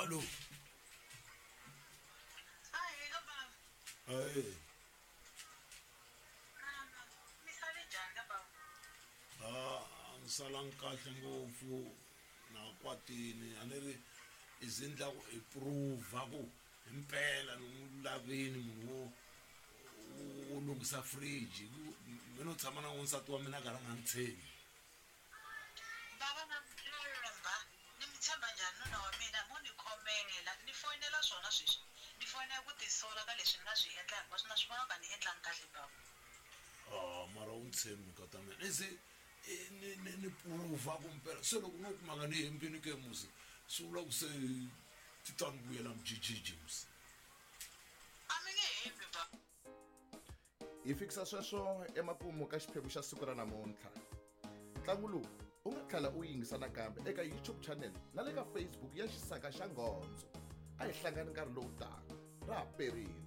Hallo. Ahee ka bava. Ahee. Mi sale njhani ka bava? A ni salangi kahle ngopfu na kwatini a ni ri i ze ni la ku i prova ku himpela ni n'wi lavini munhu wo wo lunghisa fridge mi no tshama na n'wansati wa mina a karhi a nga ni tshembi. Bava na mi tshemba ni mi tshemba njhani nuna wa mina mo ni khomela ni foyinela swona sweswi ni foyinela ku tisola ka leswi ni nga swi endla hinkwaswo na swi vona ku a ni endlangi kahle bava. Ah mara u ni tshembi nkata mina ni ze ni ni ni prova ku mpela se loko no kuma nga ni hembini ke musi swi vula ku se ti ta ni vuyela mujijiji musi. A mi nge hembi bava. Hi fikisa sweswo emakumu ka xiphemu xa siku ra namuntlha. Ntlangu lowu u nga tlhela u yingisa nakambe eka YouTube channel na le ka Facebook ya Xisaka xa Nghondzo. A hi hlangani nkarhi lowu taka. Ra ha perile.